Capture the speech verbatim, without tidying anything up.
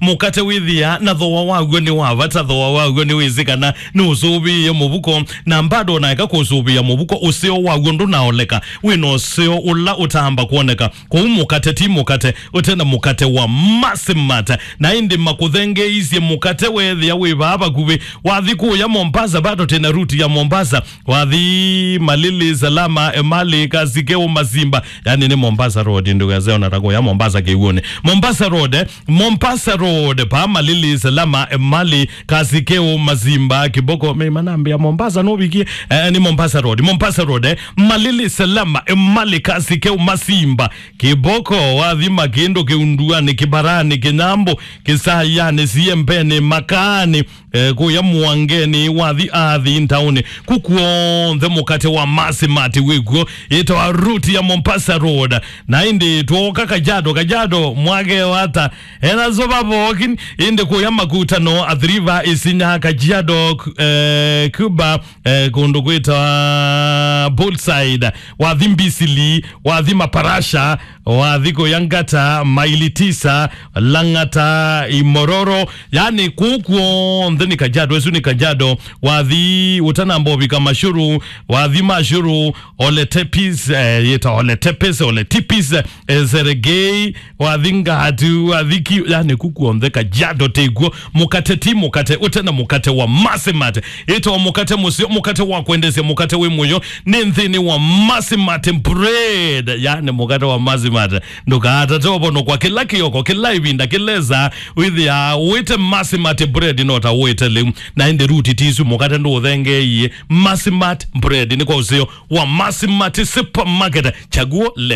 Mũkate wĩthĩa na thooa waw'o nĩ wa vata, thooa waw'o nĩwĩsĩ kana nĩũsũvĩĩe mũvuko, na mbado naeka kũsũvĩa mũvuko, ũseo waw'o ndũnaoleka, wĩ na ũseo ũla ũtaamba kwoneka. Kwoou mũkate ti mũkate ũte na mũkate wa Masimart. Na ĩndĩ makũthengeeisye mũkate weethĩa wĩ vaa vakuvĩ. Wathi kũya Mombasa, bado tena route ya Mombasa. Wathi Malili, Salama, Emali, Kasikeu, Masimba. Yani nĩ Mombasa Road, ndũkese ona ta kũya Mombasa kĩw'ũnĩ. Mombasa Road, eh? Mombasa Road, pa Malili, Salama, Emali, Kasikeu, Masimba, Kiboko. Me manambia Mombasa no vikie. Eh, nĩ Mombasa Road. Mombasa Road, eh? Malili, Salama, Emali, Kasikeu, Masimba, Kiboko. Wathi Makĩndũ, Kĩunduanĩ, Kĩbarani, Kĩnyambo, Kĩsayanĩ, Siembeni, Makani, eh, kũya Mwangeni, wathi athi ntaũnĩ. Ku kw'onthe mũkate wa Masimart wĩkw'o, ĩtawa route ya Mombasa Road. Na ĩndĩ twoka Kajiado, Kajiado mwake wata, ena soba vokin, ĩndĩ kũya Makutano, Athi River, Isinya, Kajiado, eh, Cuba, eh, kũndũ kwĩtawa Bullside, wathi Mbisili, wathi Maparasha, wathi kũya Ngata, Maili Tisa, Lang'ata, Imororo, yani kũu kw'onthe nĩ Kajiado, ĩsu nĩ Kajiado, wathi ũtanamba ũvika Mashuru, wathi Mashuru, Oletepis, eh, yĩta Oletepes, Oletipis, eh, Seregei, wathi Ngatu, wathi Ki-, yani kũu kw'onthe Kajiado tĩkw'o, mũkate ti mũkate, ũte na mũkate wa Masimart. Ĩtawa mũkate mũseo, mũkate wa kwendesya, mũkate wĩ mũyo, nĩ nthĩnĩ wa Masimart bread, yani mũkate wa Masimart. Ndũkaatate ũvonokwa kĩla kĩoko, kĩla ĩvinda, kĩla ĩsaa, wĩthĩa ũĩte Masimart bread no ta ũĩte lĩu. Na ĩndĩ route ti isu, mũkate ndũũthengeeie. Masimart bread nĩ kwa ũseo wa Masimart Supermarket. Chaguo